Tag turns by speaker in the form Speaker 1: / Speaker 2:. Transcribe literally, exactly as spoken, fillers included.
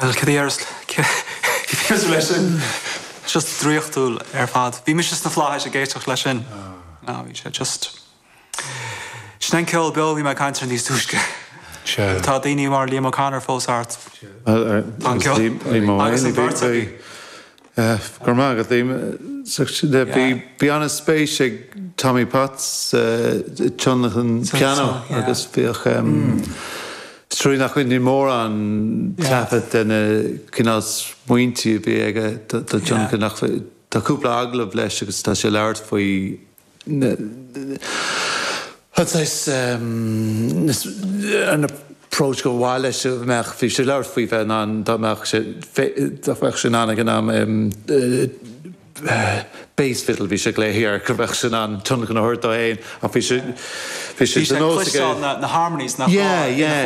Speaker 1: Well cad leis sin just draíochtúil ar fad. Bhí mise sna flaithis ag éisteacht leis sin. No, bhí sé just. Sin an ceol beo bhí mé ag caint air níos túisce. Tá daoine mar Liam O'Connor fós thart. Agus an bheirt acu.
Speaker 2: Gur má go Bhí an-spéis ag Tommy Potts tionlacan piano agus bhíodh trí nach ní mór an taifead de na cineál smaointe a bhí aige do tionlacan nach tá cúpla agallamh leis agus tá sé labhairt faoi an approach go bhfuil leis meach bhí sé labhairt faoi bheith an dá mbeadh sé dá mbeadh sé an ag an am bass fiddle bhí sé léhir go bheadh sin an tionlacan a thabhairt dó féin ach bhí sé bhí sé
Speaker 1: na harmonies na
Speaker 2: Yeah, yeah.